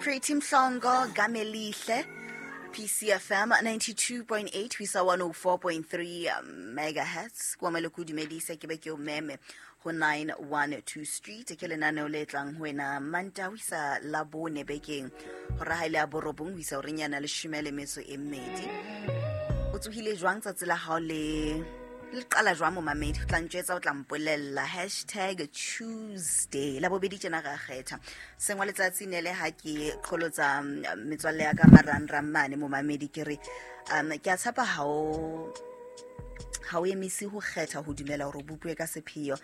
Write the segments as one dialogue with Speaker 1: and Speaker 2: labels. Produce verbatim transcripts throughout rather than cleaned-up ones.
Speaker 1: Pretty Mhlongo, Gamelihle, P C F M ninety-two point eight ho isa one oh four point three megahertz. Kwa maloko dumedise, ke be ke o meme ho nine one two Street. Ke lenaneo le tlang ho wena Manta ho isa Labone bekeng, hora ha ile ya borobong ho isa horeng yana leshome le metso e mmedi. O tsohile jwang? Tsatsi la hao le le qala jwang, momamedi? O tla ntjwetsa, o tla mpolella. Hashtag Tuesday, la bobedi tjena ra kgetha sengwa letsatsi ne le ha ke qholotsa mm, metswalle ya ka marangrang mane. Momamedi, ke re um ke a tshepa ha o ha o emise ho kgetha ho dumela hore o bopuwe ka sepheo.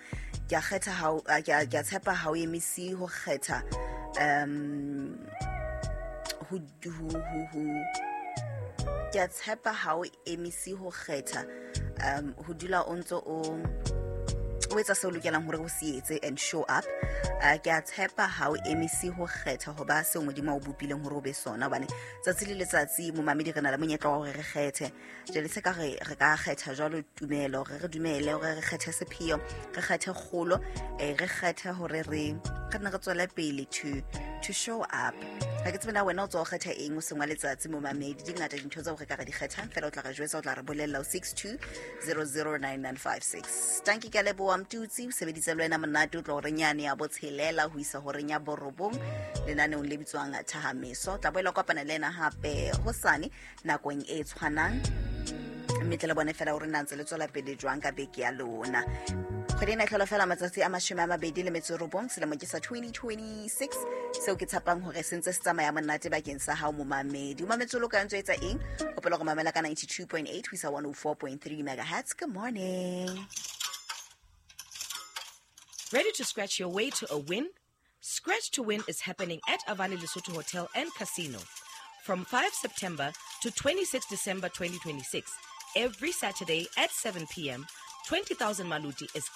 Speaker 1: Ke a kgetha ha o- a, ke a ke a tshepa ha o emise ho kgetha um ho ho ho ho ke a tshepa ha o emise ho kgetha um ho dula o ntso o o etsa seo o lokelang hore o se etse and show up. uh, ke a tshepa ha o emise ho kgetha ho ba seo Modimo a o bopileng hore o be sona, hobane tsatsi le letsatsi, momamedi, re na le monyetla wa hore re kgethe. Jwale se ka re re ka kgetha jwalo tumelo, re re dumele hore re kgethe sepheo, re kgethe kgolo, eh, re kgethe hore re re nne re tswele pele to to show up. Ga ke tsebe na wena o tswa o kgetha eng o sengwa letsatsi. Momamedi, di ngata dintho tseo re ka re di kgethang fela. O tla re jwetsa, o tla re bolella ho six two zero zero nine nine five six. Tanki, ke a leboha. Mtutsi o sebeditse le wena monate o tlo horeng yane ya botshelela ho isa horeng ya borobong lenaneong le bitswang Thahameso. Tla boela kopana le ena hape hosane nakong e tshwanang, mme tle le bone fela hore na ntse le tswela pele jwang ka beke ya lona. Kgwedi ena e tlhola fela matsatsi a mashome a mabedi le metso e robong, selemo ke sa twenty twenty-six, seo ke tshepang hore se ntse se tsamaya monate bakeng sa hao, momamedi. O mametse o lo ka ntso etsa eng? Hopola go mamela ka ninety-two point eight ho isa one oh four point three megahertz. Good morning.
Speaker 2: Ready to scratch your way to a win? Scratch to Win is happening at Avani Lesotho Hotel and Casino from five September to twenty-six December twenty twenty-six. Every Saturday at seven p m, twenty thousand Maluti is